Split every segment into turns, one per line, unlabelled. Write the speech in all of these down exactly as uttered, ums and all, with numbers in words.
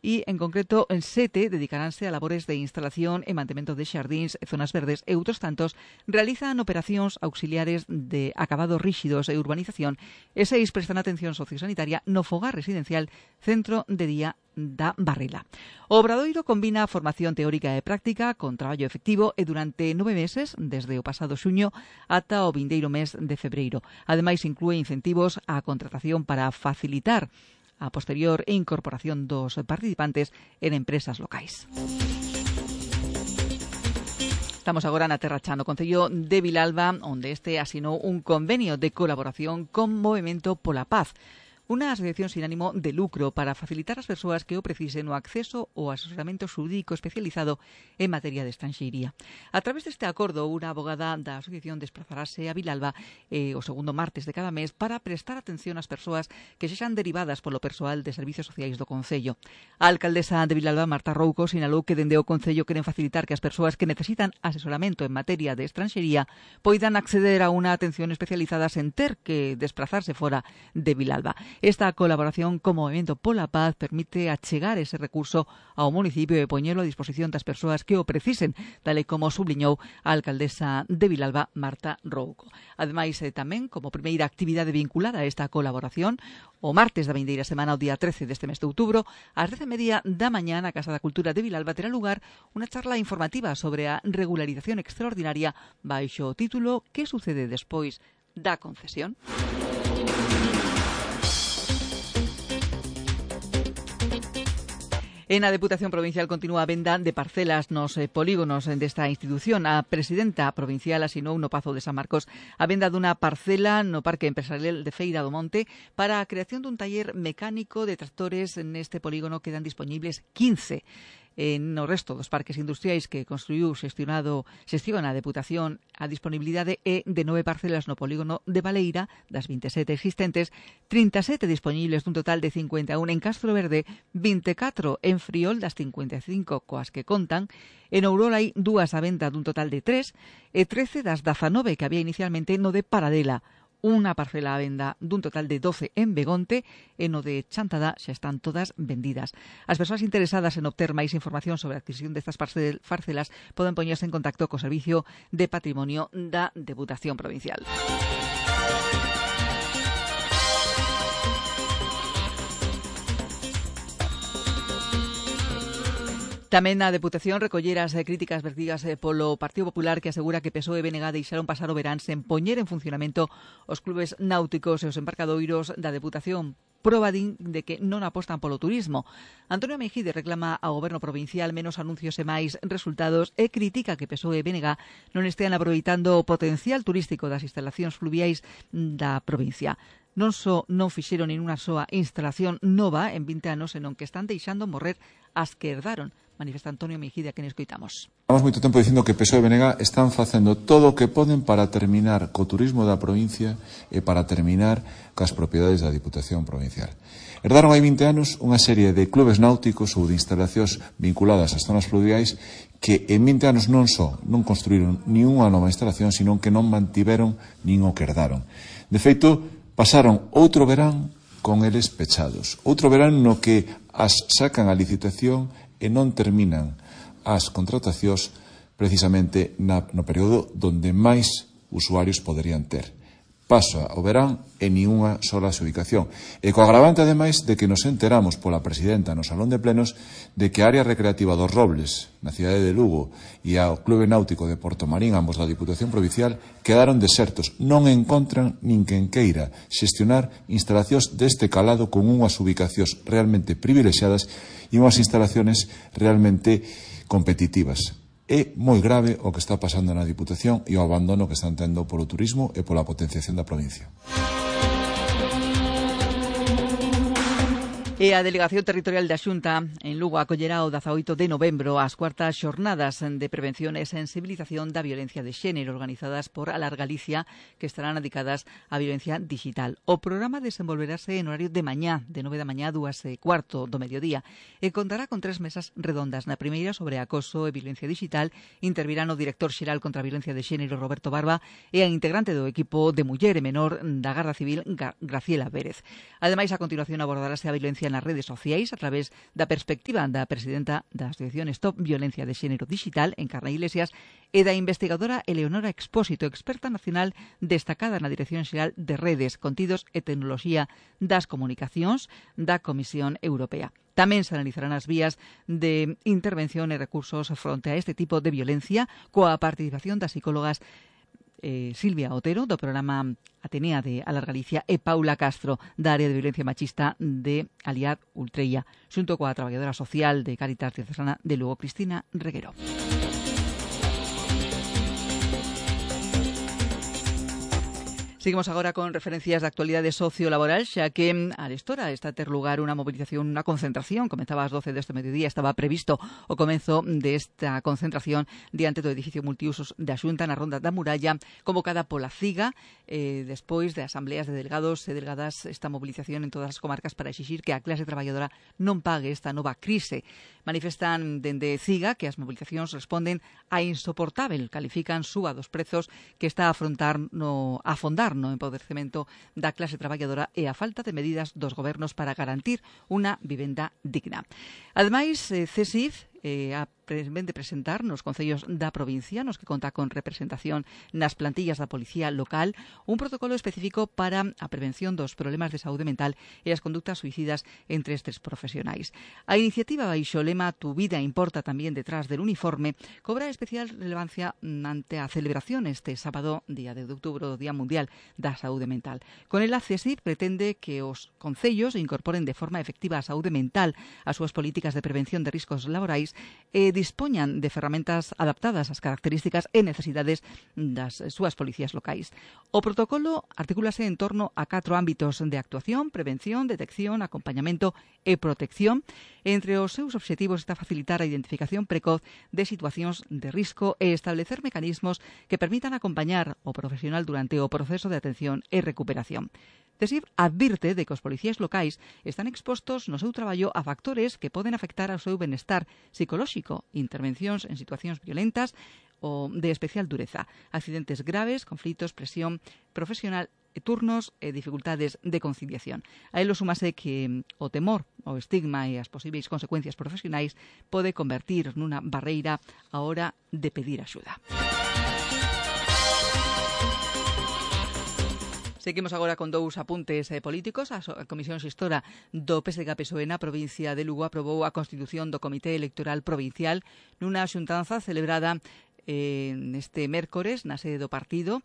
e, en concreto, en sete dedicaránse a labores de instalación e mantemento de xardíns, zonas verdes e outros tantos realizan operacións auxiliares de acabados ríxidos e urbanización e seis prestan atención sociosanitaria no fogar residencial Centro de Día da Barrila. O Obradoiro combina formación teórica e práctica con traballo efectivo e durante nove meses, desde o pasado xuño ata o vindeiro mes de febreiro. Ademais, inclúe incentivos á contratación para facilitar a posterior incorporación dos participantes en empresas locais. Estamos agora na Terra Cha, no Concello de Vilalba, onde este asinou un convenio de colaboración con Movemento pola Paz, unha asociación sin ánimo de lucro para facilitar ás persoas que o precisen o acceso ao asesoramento xurídico especializado en materia de estranxeiría. A través deste acordo, unha abogada da asociación desplazarase a Vilalba eh, o segundo martes de cada mes para prestar atención ás persoas que sexan derivadas polo persoal de servicios sociais do Concello. A alcaldesa de Vilalba, Marta Rouco, sinalou que dende o Concello queren facilitar que as persoas que necesitan asesoramento en materia de estranxería poidan acceder a unha atención especializada sen ter que desplazarse fora de Vilalba. Esta colaboración con Movemento pola Paz permite achegar ese recurso ao municipio e poñelo a disposición das persoas que o precisen, tal e como subliñou a alcaldesa de Vilalba, Marta Rouco. Ademais, eh, tamén, como primeira actividade vinculada a esta colaboración, o martes da vindeira semana, o día trece deste mes de outubro, ás dez e media da mañá na Casa da Cultura de Vilalba terá lugar unha charla informativa sobre a regularización extraordinaria baixo o título "Que sucede despois da concesión?". En a Deputación Provincial continúa a venda de parcelas nos eh, polígonos desta institución. A presidenta provincial asinou no Pazo de San Marcos a venda dunha parcela no Parque Empresarial de Feira do Monte para a creación dun taller mecánico de tractores. Neste polígono quedan disponibles quince. En no resto dos parques industriais que construiu xestionado xestiona a Deputación, a disponibilidade é de nove parcelas no polígono de Baleira, das vinte e sete existentes, trinta e sete disponibles dun total de cincuenta e un en Castro Verde, vinte e catro en Friol das cincuenta e cinco coas que contan, en Ourola hai dúas a venda dun total de tres e trece das dezanove que había inicialmente no de Paradela. Unha parcela a venda dun total de doce en Begonte e no de Chantada xa están todas vendidas. As persoas interesadas en obter máis información sobre a adquisición destas parcelas poden poñerse en contacto co Servicio de Patrimonio da Deputación Provincial. Tamén a Deputación recollera as críticas vertidas polo Partido Popular, que asegura que P S O E e B N G deixaron pasar o verán sen poñer en funcionamento os clubes náuticos e os embarcadoiros da Deputación. Proba din de que non apostan polo turismo. Antonio Mejide reclama ao Goberno provincial menos anuncios e máis resultados e critica que P S O E e B N G non estean aproveitando o potencial turístico das instalacións fluviais da provincia. Non só non fixeron nin unha soa instalación nova en vinte anos, senón que están deixando morrer as que herdaron, manifesta Antonio Mejide, a quen escoitamos.
Estamos moito tempo dicindo que P S O E e B N G están facendo todo o que poden para terminar co turismo da provincia e para terminar cas propiedades da Diputación Provincial. Herdaron hai vinte anos unha serie de clubes náuticos ou de instalacións vinculadas ás zonas fluviais que en vinte anos non só non construíron nin unha nova instalación, sino que non mantiveron nin o que herdaron. De feito, pasaron outro verán con eles pechados. Outro verán no que as sacan a licitación e non terminan as contratacións precisamente na, no período donde máis usuarios poderían ter. Pasa o verán e nin unha sola ubicación. E co agravante, ademais, de que nos enteramos pola presidenta no Salón de Plenos de que a área recreativa dos Robles, na cidade de Lugo, e ao Clube Náutico de Portomarín, ambos da Diputación Provincial, quedaron desertos. Non encontran nin quen queira xestionar instalacións deste calado con unhas ubicacións realmente privilexiadas e unhas instalaciones realmente competitivas. É moi grave o que está pasando na Diputación e o abandono que están tendo polo turismo e pola potenciación da provincia.
E a Delegación Territorial da Xunta en Lugo acollerá o dezaoito de novembro as cuartas xornadas de prevención e sensibilización da violencia de xénero organizadas por Alar Galicia, que estarán dedicadas á violencia digital. O programa desenvolverase en horario de mañá, de nove da mañá a dúas e cuarto do mediodía, e contará con tres mesas redondas. Na primeira, sobre acoso e violencia digital, intervirán o director xeral contra a violencia de xénero, Roberto Barba, e a integrante do equipo de muller e menor da Garda Civil, Graciela Pérez. Ademais, a continuación abordarase a violencia nas redes sociais a través da perspectiva da presidenta da Asociación Stop Violencia de Xénero Digital, Encarna Iglesias, e da investigadora Eleonora Expósito, experta nacional destacada na Dirección Xeral de Redes, Contidos e Tecnoloxía das Comunicacións da Comisión Europea. Tamén se analizarán as vías de intervención e recursos fronte a este tipo de violencia coa participación das psicólogas Eh, Silvia Otero, do programa Atenea de Alar Galicia, e Paula Castro, da área de violencia machista de Aliad Ultreia, xunto coa traballadora social de Cáritas Diocesana de Lugo, Cristina Reguero. Seguimos agora con referencias de actualidade sociolaboral, xa que a Arestora está a ter lugar unha movilización, unha concentración, comenzaba ás doce deste mediodía, estaba previsto o comenzo desta concentración diante do edificio multiusos da Xunta na Ronda da Muralla, convocada pola CIGA, eh, despois de asambleas de delegados e delegadas, esta movilización en todas as comarcas para exixir que a clase traballadora non pague esta nova crise. Manifestan dende CIGA que as movilizacións responden a insoportável, califican suba dos prezos que está a afrontar no a afondar no empoderecemento da clase traballadora e a falta de medidas dos gobernos para garantir unha vivenda digna. Ademais, eh, CESIF eh, a ven de presentar nos concellos da provincia, nos que conta con representación nas plantillas da Policía Local, un protocolo específico para a prevención dos problemas de saúde mental e as conductas suicidas entre estes profesionais. A iniciativa baixo o lema Tu vida importa tamén detrás del uniforme cobra especial relevancia ante a celebración este sábado, día de outubro, Día Mundial da Saúde Mental. Con el A CESIF pretende que os concellos incorporen de forma efectiva a saúde mental ás súas políticas de prevención de riscos laborais e dispoñan de ferramentas adaptadas ás características e necesidades das súas policías locais. O protocolo articúlase en torno a catro ámbitos de actuación: prevención, detección, acompañamento e protección. Entre os seus obxectivos está facilitar a identificación precoz de situacións de risco e establecer mecanismos que permitan acompañar o profesional durante o proceso de atención e recuperación. CESIF advirte de que os policías locais están expostos no seu traballo a factores que poden afectar ao seu benestar psicolóxico, intervencións en situacións violentas ou de especial dureza, accidentes graves, conflitos, presión profesional, turnos e dificultades de conciliación. A elo súmase que o temor, o estigma e as posibles consecuencias profesionais pode convertir nunha barreira á hora de pedir axuda. Seguimos agora con dous apuntes eh, políticos. A, a Comisión Xestora do P S D G P S O E na provincia de Lugo aprobou a constitución do Comité Electoral Provincial nunha xuntanza celebrada eh, neste mércores na sede do partido,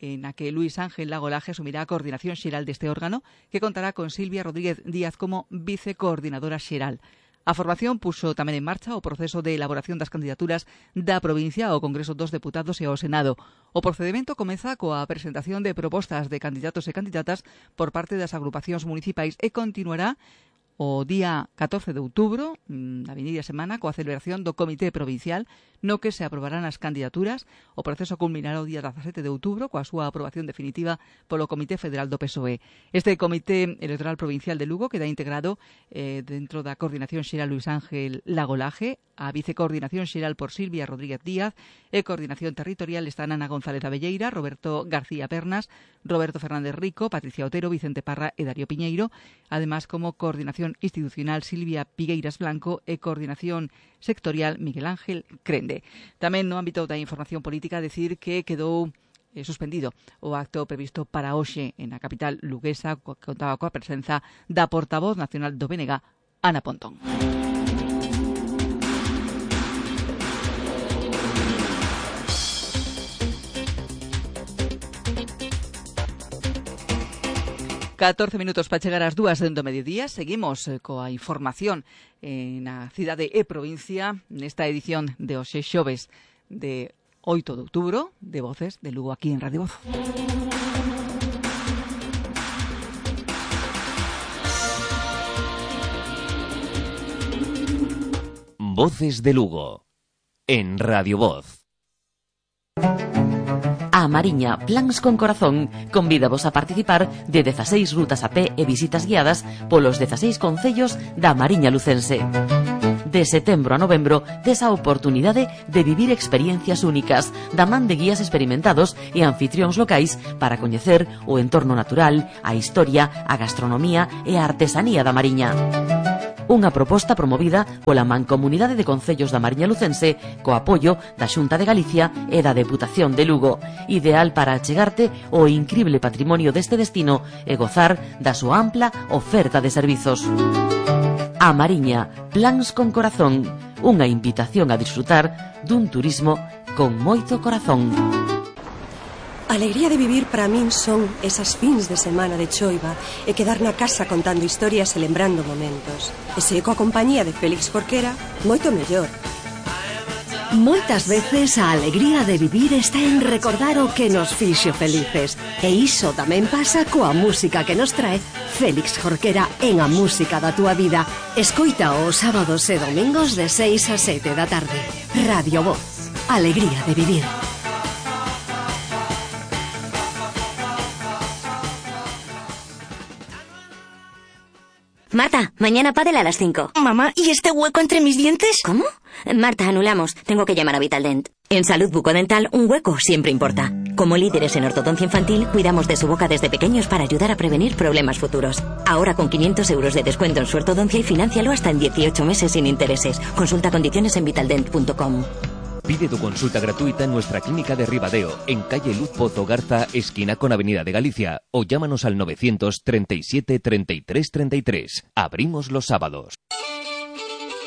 na que Luis Ángel Lagolaje asumirá a coordinación xeral deste órgano, que contará con Silvia Rodríguez Díaz como vicecoordinadora xeral. A formación puxo tamén en marcha o proceso de elaboración das candidaturas da provincia ao Congreso dos Deputados e ao Senado. O procedimento comeza coa presentación de propostas de candidatos e candidatas por parte das agrupacións municipais e continuará o día catorce de outubro, na vindeira semana, coa celebración do Comité Provincial, no que se aprobarán as candidaturas. O proceso culminará o día dezasete de outubro coa súa aprobación definitiva polo Comité Federal do P S O E. Este Comité Electoral Provincial de Lugo queda integrado eh, dentro da Coordinación Xeral Luis Ángel Lagolaje, a Vicecoordinación Xeral por Silvia Rodríguez Díaz e Coordinación Territorial están Ana González Abelleira, Roberto García Pernas, Roberto Fernández Rico, Patricia Otero, Vicente Parra e Darío Piñeiro, además como Coordinación Institucional Silvia Pigueiras Blanco e Coordinación Sectorial Miguel Ángel Crende. Tamén no ámbito da información política decir que quedou eh, suspendido o acto previsto para hoxe en a capital luguesa, que contaba coa presenza da portavoz nacional do B N G, Ana Pontón. catorce minutos para chegar ás dúas do mediodía. Seguimos eh, coa información eh, na cidade e provincia nesta edición de hoxe xoves de oito de outubro de Voces de Lugo aquí en Radio Voz.
Voces de Lugo en Radio Voz.
A Mariña, Plans con Corazón, convídavos a participar de dezaseis rutas a pé e visitas guiadas polos dezaseis concellos da Mariña lucense. De setembro a novembro, tes a oportunidade de vivir experiencias únicas da man de guías experimentados e anfitrións locais para coñecer o entorno natural, a historia, a gastronomía e a artesanía da Mariña. Unha proposta promovida pola Mancomunidade de Concellos da Mariña Lucense co apoio da Xunta de Galicia e da Deputación de Lugo, ideal para achegarte o incrible patrimonio deste destino e gozar da súa ampla oferta de servizos. A Mariña, plans con corazón, unha invitación a disfrutar dun turismo con moito corazón.
A alegría de vivir para min son esas fins de semana de choiva e quedar na casa contando historias e lembrando momentos. E se coa compañía de Félix Jorquera, moito mellor.
Moitas veces a alegría de vivir está en recordar o que nos fixo felices. E iso tamén pasa coa música que nos trae Félix Jorquera en A Música da Túa Vida. Escoita os sábados e domingos de seis a sete da tarde. Radio Voz. Alegría de vivir.
Marta, mañana pádel a las cinco.
Mamá, ¿y este hueco entre mis dientes?
¿Cómo? Marta, anulamos. Tengo que llamar a Vitaldent. En Salud Bucodental, un hueco siempre importa. Como líderes en ortodoncia infantil, cuidamos de su boca desde pequeños para ayudar a prevenir problemas futuros. Ahora con quinientos euros de descuento en su ortodoncia y financialo hasta en dieciocho meses sin intereses. Consulta condiciones en vitaldent punto com.
Pide tu consulta gratuita en nuestra clínica de Ribadeo, en calle Luz Pozo Garza, esquina con Avenida de Galicia, o llámanos al novecientos treinta y siete treinta y tres treinta y tres. Abrimos los sábados.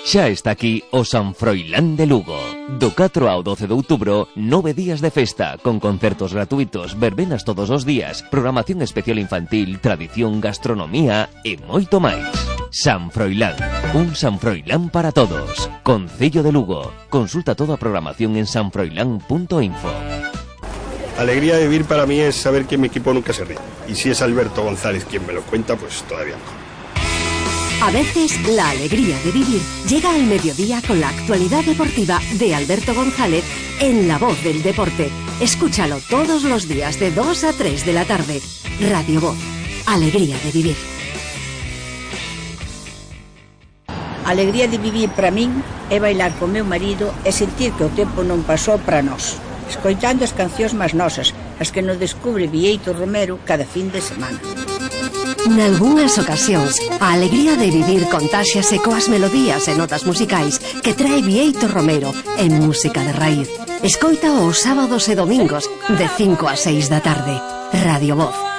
Xa está aquí o San Froilán de Lugo. Do catro ao doce de outubro, nove días de festa, con concertos gratuitos, verbenas todos os días, programación especial infantil, tradición, gastronomía e moito máis. San Froilán, un San Froilán para todos. Concello de Lugo. Consulta toda a programación en san froilán punto info.
Alegría de vivir para mí es saber que mi equipo nunca se rinde. Y si es Alberto González quien me lo cuenta, pues todavía mejor.
A veces, la alegría de vivir llega al mediodía con la actualidad deportiva de Alberto González en La Voz del Deporte. Escúchalo todos los días de dos a tres de la tarde. Radio Voz. Alegría de vivir.
Alegría de vivir para min é bailar con meu marido e sentir que o tempo non pasou para nós, escoitando as cancións máis nosas, as que nos descubre Vieito Romero cada fin de semana.
Nalgúnas ocasións, a alegría de vivir contáxiase coas melodías e notas musicais que trae Vieito Romero en música de raíz. Escoita os sábados e domingos de cinco a seis da tarde. Radio Voz.